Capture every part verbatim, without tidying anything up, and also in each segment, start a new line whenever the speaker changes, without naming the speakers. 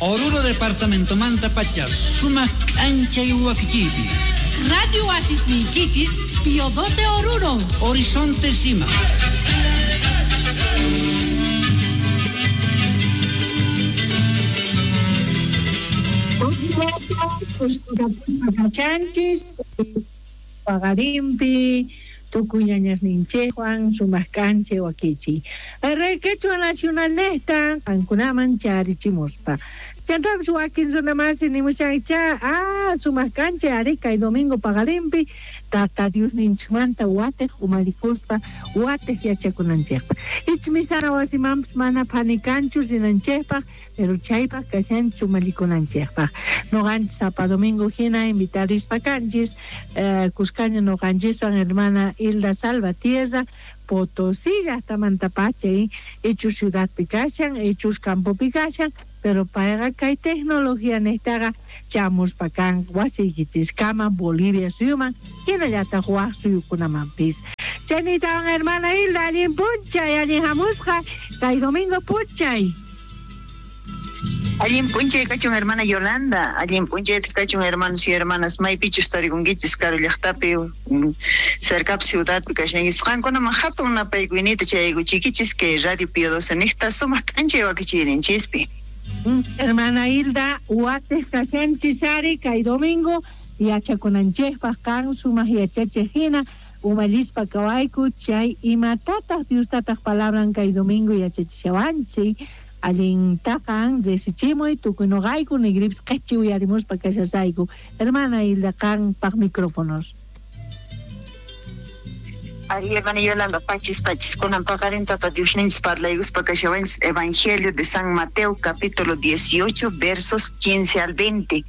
Oruro Departamento Manta Pacha, Sumac Ancha y Huaquichipi.
Radio Oasis Ninquichis, Pío doce Oruro.
Horizonte Sima.
Chanchis, Pagarimpi, Tukuñañasninchejuan, Sumascanche, Wakichi. El Quechua Nacionalista, Ancunaman, Charichimuspa. Chantapis wakin runamasi nimushancha, ah, Sumascanche, Arica y Domingo Pagarimpi, Tata Dios ninchmanta, watej umalikuspa, watej yachakunanchejpa. Ichmisana wasimamps mana panikanchus rinanchejpaj, pero chaypaj kashanchis umalikunanchejpaj. Noqanchis sapa domingo hina invitarispa kanchis, eh, Cuscaña noqanchiswan hermana Hilda Salvatierra, Potosí, hasta Mantapache, hechos ciudad pikashan, hechos campo pikashan, pero payqa kay tecnología nestaqa chamuspa kan wasiykichiskama Bolivia suyuman, hinallataq waj suyukunamanpis. Chaynitawan hermana Hilda, allin punchay, allin hamusqa, kay domingo punchay.
Allin punchay kachun hermana Yolanda, allin punchay kachun hermanos y hermanas, maypichus tarikunkichis karu llaqtapi, cerca ciudadpi kashankichis, qankunaman hatun napaykuynita chayaykuchikichis kay Radio Pío doce niqta sumaq k'anchay wakichiyninchispi.
Hermana Hilda, watej kashanchis ari kay domingo yachakunanchejpaj kan sumaq yachachej hina umallispa kawayku chay imatataq Diostataq palabran kay domingo yachachishawanchik. Allintaqa resichimuy tukuy noqayku nigripis qhichi uyarimuspa kashasayku. Hermana Hilda, qanpaq micrófonos.
Ari, hermana Yolanda, pachis, pachis, kunan paqarin tata Diosninchis parlaykuspa kashawanchis Evangelio de San Mateo, capítulo dieciocho, versos quince al veinte.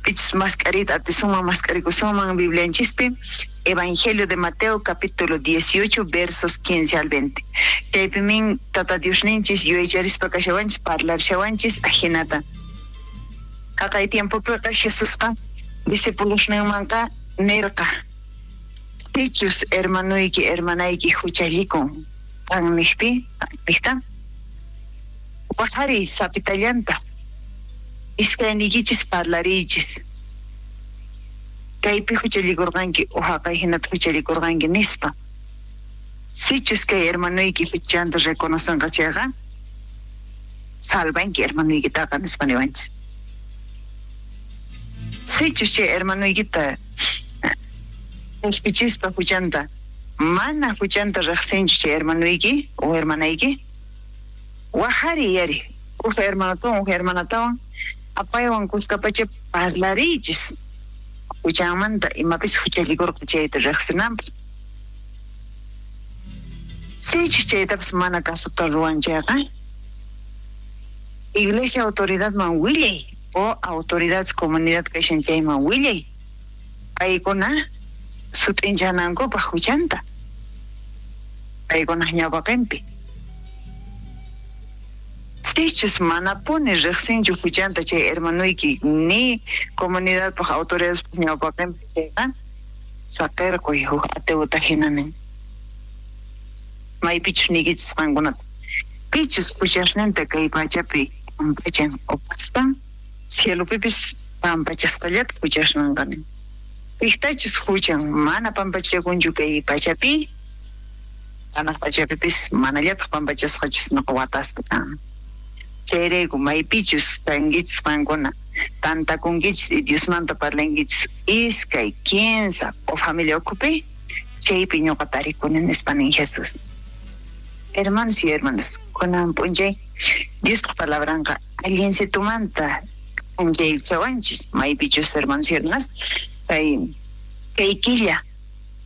Pichis mascarita, atisuma mascarikusuman Biblianchispi. Evangelio de Mateo, capítulo dieciocho, versos quince al veinte. Chaypimin tata Diosninchis yuyaycharispa kashawanchis parlarshawanchis ajinata. Haqay tiempopiqa Jesusqa discipulosninmanqa nirqa: sichus hermanuyki hermanayki huchallikun qan niqpi niqta waqariy sapitallanta iskayniykichis parlariychis kaypi huchallikurqanki o haqay hinata huchallikurqanki nispa. Sichus kay hermanuyki huchanta reconocenqa chayqa salvanki hermanuykitaqa nispa niwanchis. Sichus chay hermanuykita qishpichispa huchanta mana huchanta riqsinchu chay hermanuyki o hermanayki waqariy yari uj hermanotawan uj hermanatawan apaywan kuskapacha parlariychis huchanmanta imapis huchallikurqa chayta riqsinanpaq. Sichus chaytapas mana kasuta ruwan chayqa iglesia autoridadman willay o autoridades comunidad kashan chayman willay paykuna sut'inchanankupaq huchanta paykunaq ñawpaqinpi. Sichus manapuni riqsinchu huchanta chay hermanuyki ni comunidadpaq autoridadespaq ñawpaqinpi chayqa saqirquy huk ateuta hinanin. Maypichus niykichis qankunata pichus huchasninta kay pachapi pampachan opaspan cielopipis pampachasqallata huchasninqa nin. Piqtachus huchan mana pampachakunchu kay pachapi hanaq pachapipis manallataq pampachasqachus nuqa watasqa kan. Chayrayku maypichus kankichis qankuna tantakunkichis y Diosmanta parlankichis iskay kinsa o familia ukhupi chaypi ñuqa tarikuni nispa nin Jesús. Hermanos y hermanas, kunan p'unchay Diospaq palabranqa allinsitumanta k'anchaychawanchis maypichus hermanos y hermanas kay kay killa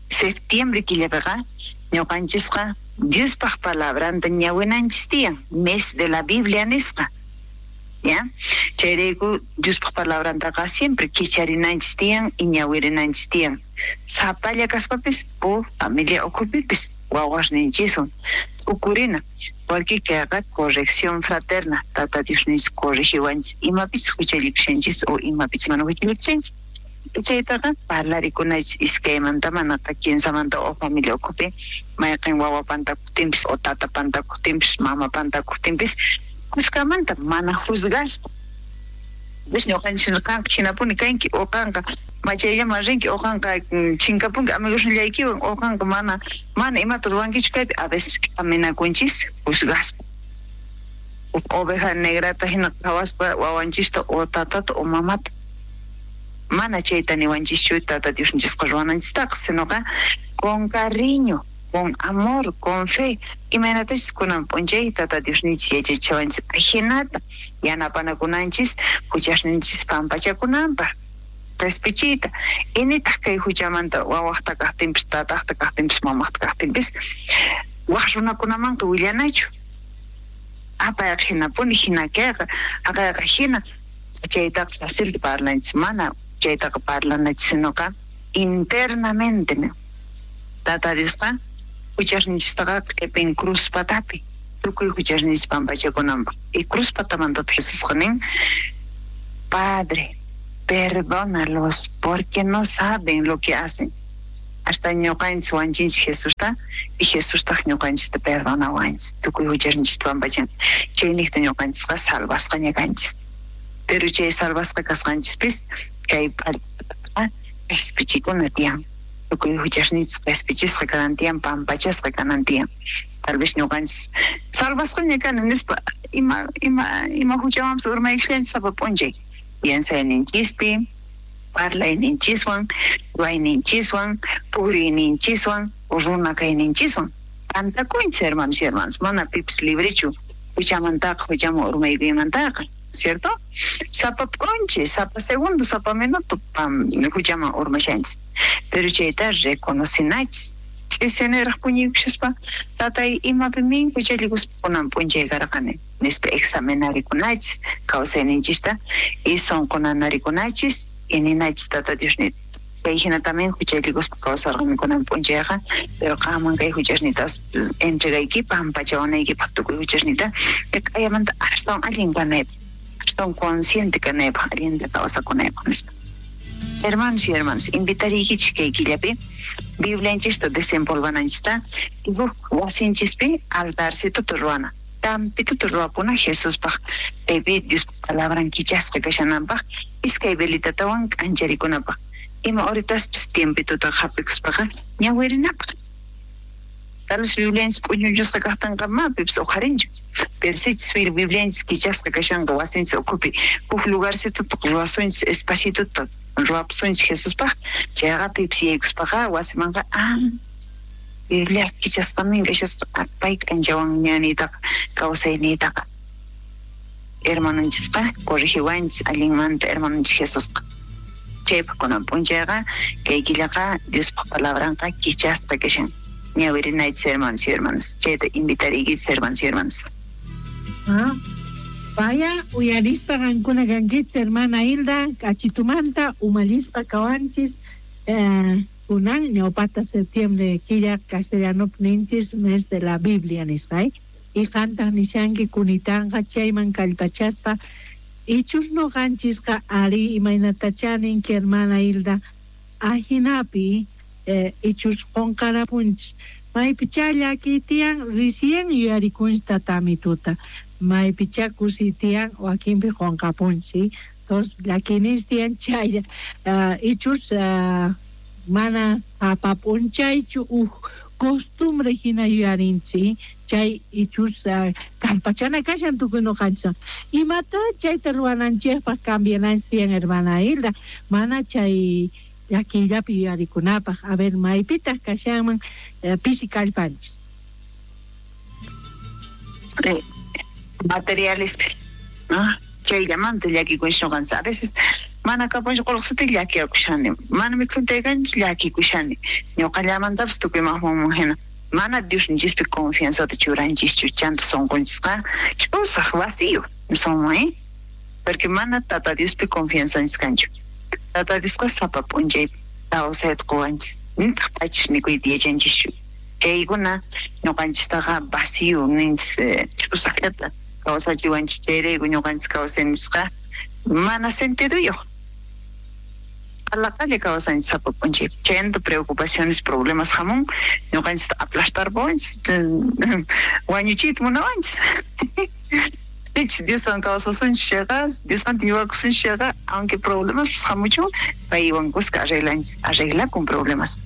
septiembre killapiqa ñuqanchisqa Diospaq palabranta ñawinanchis tiyan mes de la Biblia nisqa. ¿Ya? Chayrayku Diospaq palabrantaqa siempre kicharinanchis tiyan y ñawirinanchis tiyan. Sapalla kaspapis o familia ukhupipis wawasninchiswan ukurina porque kayqa corrección fraterna tata Diosninchis corrigiwanchis imapis huchallikushanchis o imapis mana huchallikushanchis. Chaytaqa parlarikunachis iskaymanta manaqa kinsamanta o familia ukhupi mayqin wawa pantakuqtinpis o tata pantakuqtinpis mama pantakuqtinpis kuskamanta mana juzgaspa Ves ñuqanchis qanqa hinapuni kanki o qanqa machayllaman rinki o qanqa chinkapunki amigosnillaykiwan o qanqa mana mana imata ruwankichu kaypi. A veces k'aminakunchis juzgaspa. Oveja negrata hina qhawaspa wawanchista o tatata o mamata. Mana chayta niwanchischu tata Diosninchisqa ruwananchistaqa, sinoqa con cariño, con amor, con fe. Imaynatachis kunan p'unchay tata Diosninchis yachachiwanchis ajinata yanapanakunanchis huchasninchis pampachakunanpaq qhispichiyta. Initaq kay huchamanta wawaqta kaqtinpis tataqta kaqtinpis mamaqta kaqtinpis waq runakunamanqa willanachu. Apayqa hinapuni hina kayqa aqayqa hina chaytaqa facilta parlanchis, mana chaytaqa parlanachis, sinoqa internamente. Tata Diosqa huchasninchistaqa q'ipin cruz patapi tukuy huchasninchis pampachakunanpaq. Y cruz patamantataq Jesusqa nin: Padre, perdónalos porque no saben lo que hacen. Hasta ñuqanchis wanchinchis Jesusta y Jesustaq ñuqanchista perdonawanchis tukuy huchasninchista pampachan. Chayniqta ñuqanchisqa salvasqaña kanchis. Pero chay salvasqa kasqanchispis kay p'allpataqa qhispichikuna tiyan. Tukuy huchasninchis qhispichisqa kanan tiyan, pampachasqa kanan tiyan. Tal vez ñuqanchis salvasqaña kani nispa ima ima ima huchamanpis urmaykushanchis sapa p'unchay. Piensayninchispi, parlayninchiswan, ruwayninchiswan, puriyninchiswan, runa kayninchiswan. Pantakunchis, hermanos y hermanas, mana pipis librechu huchamantaqa, huchaman urmaykuymantaqa, ¿cierto? Sapa p'unchay, sapa segundo, sapa minuto pam huchaman urmashanchis. Pero chayta reconocinachis. Ch'isiniraq puñuykushaspa, tatay imapimin huchallikuspa kunan p'unchay karqani nispa examinarikunachis kawsayninchista y sunqunanarikunachis y ninachis tata Diosnita. Kay hina también huchallikuspa kawsarqani kunan p'unchayqa, pero qanman kay huchasnitas entregayki pampachawanaykipaq tukuy huchasnita q'ayamanta astawan allin kanaypaq, astawan consciente kanaypaq, allinta kawsakunaypaq nispa. Hermanos y hermanas, invitariykichis kay killapi Biblianchista desempolvananchista y huk wasinchispi altarcituta ruwana, tampituta ruwapuna Jesuspaq kaypi Diospa palabran kichasqa kashananpaq iskay velitatawan k'ancharikunapaq. Ima horitaspis tiempituta hap'ikuspaqa ñawirinapaq. Tal vez Biblianchis p'uñuchusqa kaqtinqa ma pipis uqharinchu. Pero sichus Biblianchis kichasqa kashanqa wasinchis ukhupi huk lugarcituta ruwasunchis espacituta ruwapusunchis Jesuspaq, chayqa pipis yaykuspaqa wasimanqa ah Biblia kichasqamin kashasqa pay k'anchawan ñaniytaqa kawsayniytaqa. Hermanonchisqa corrigiwanchis allinmanta hermanonchis Jesusqa. Chaypaq kunan p'unchayqa kay killaqa Diospaq palabranqa kichasqa kashan. Ñawirinaychis hermanos y hermanas. Chayta invitariykichis hermanos y hermanas.
Ah, vaya uyarispa qankuna kankichis hermana Hilda k'achitumanta umallispa kawanchis eh, kunan ñawpata septiembre killa castellanopi ninchis mes de la Biblia nisqa, eh? Y qantaq nishanki kunitanqa chayman kallpachaspa ichus noqanchisqa ari imaynatachá ninki hermana Hilda ajinapi eh, ichus qunqarapunchis maypichá llakiy tiyan recién yuyarikunchis tatamituta, maypichá kusiy tiyan wakinpi qunqapunchis. Entonces llakiyninchis tiyan chaylla uh, ichus uh, mana apap'unchaychu uj costumbre hina yuyarinchis chay ichus uh, kallpachana kashan tukuy noqanchis. Imata chayta ruwananchikpaq cambiananchis tiyan hermana Hilda, mana chay llakiyllapi yuyarikunapaq. A ver, maypitaq kashanman eh, pisi kallpanchis.
Materialispi, ¿no? Chayllamanta llakikunchis noqanchis. A veces mana kapunchis qullqisita llakiyakushani, mana mikhuntaykanchis llakikushani, ñuqallamantapis tukuy maqmanman hina. Mana Diosninchispi confianzata churanchischu, chanta sunqunchisqa ch'usaq vacío sunman, ¿eh? Porque mana tata Diospi confianzanchis kanchu. Tata Diosqa sapa p'unchay kawsayta quwanchis, nitaq pachis mikuyta yachanchischu. Chaykuna ñuqanchistaqa vacío ninchis, ch'usaqllata kawsachiwanchis. Chayrayku ñuqanchis kawsaynisqa mana sentiduyuq. Alaqalla kawsanchis sapa p'unchay. Chayanta preocupaciones, problemas hamun, ñuqanchista aplastarpawanchis, wañuchiyta munawanchis. Sichus Dioswan kawsasunchis chayqa, Diosmanta yuyakusunchis chayqa, aunque problemas hamuchun, paywan kuska arreglanchis, arreglakun problemas.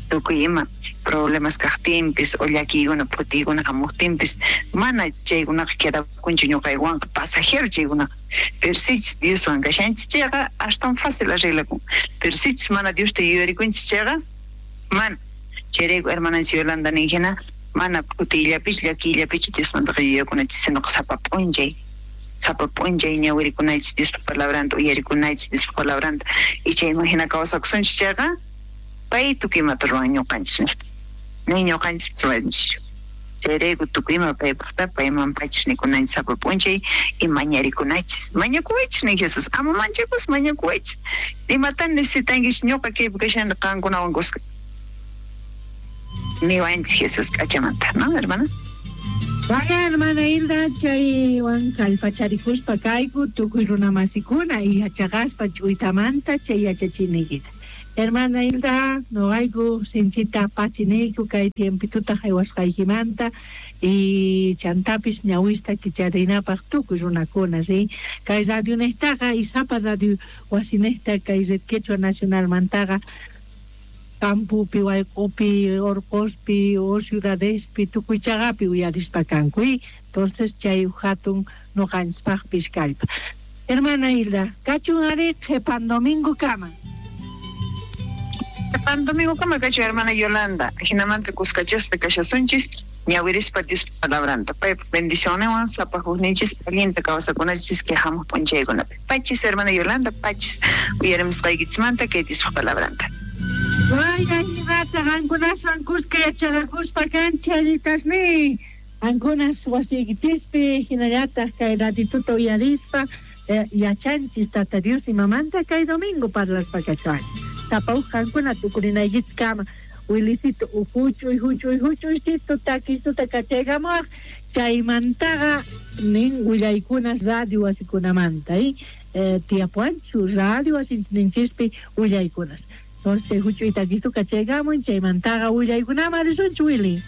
Tukuy ima problemas kaqtinpis o llakiykuna phutiykuna hamuqtinpis mana chaykunaqa quedakunchu ñuqaywanqa pasajero chaykunaqa. Pero sichus Dioswan kashanchis chayqa astawan fácil arreglakun. Pero sichus mana Diosta yuyarikunchis chayqa mana. Chayrayku hermananchis Yolanda nin hina mana phutiyllapichu llakiyllapichu Diosmantaqa yuyakunachis, sinoqa sapa p'unchay sapa p'unchay ñawirikunachis Diospa palabranta uyarikunachis Diospa palabranta y chayman hina kawsakusunchis chayqa pay tukuy imata ruwan ñuqanchis nispa. Ni ñuqanchis ruwanchischu. Chayrayku tukuy ima paypaqta payman pachis nikunanchis sapa p'unchay y mañarikunachis. Mañakuwaychis nin Jesús, ama manchakus mañakuwaychis. Imatan necesitankichis ñuqa kaypi kashani qankunawan kuska. Niwanchis Jesús k'achamanta, ¿no, hermana?
Vaya, hermana Hilda, chaywan kallpacharikuspa kayku tukuy runamasikuna y yachaqaspa ch'uytamanta chay yachachiniykita. Hermana Hilda, noqayku sinchita pachiniyku kay tiempituta haywasqaykimanta y chantapis ñawista kicharinapaq tukuy runakuna, ¿sí? Kay radio nejtaqa y sapa radio wasinejta kay Red Quechua Nacionalmantaqa campopi, wayq'upi, orqospi o ciudadespi tukuy chaqapi uyarispa kanku, y entonces chay hatun noqanchispaqpis kallpa. Hermana Hilda, kachun ari qhipan domingo kama.
Qhipan domingo kama kachu hermana Yolanda, jinamanta kuskachaspa kashasunchis ñawirispa Diospa palabranta. Paypa bendicionewan sapa hukninchis allinta kawsakunachis kay hamuq p'unchaykunapi. Pachis hermana Yolanda, pachis uyarimusqaykichismanta kay Diospa palabranta.
Vaya, ñuqata qankunaswan kuska yachaqakuspa kanchis allitasni. Qankunas wasiykichispi hinallataq kay ratituta uyarispa eh, yachanchis Tata Dios imamanta kay domingo parlaspa kachuanchis. Sapa uj qankuna tukurinaykichiskama Wilisito huch'uy huch'uy huch'uychito takisuta kachaykamuwaq chaymantaqa nin willaykunas radio wasikunamanta, ¿eh? Eh, tiyapuanchu radio wasinchinchispi willaykunas. Entonces huch'uy takistu kachaykamun chaymantaqa willaykunaman risunchu, Willy.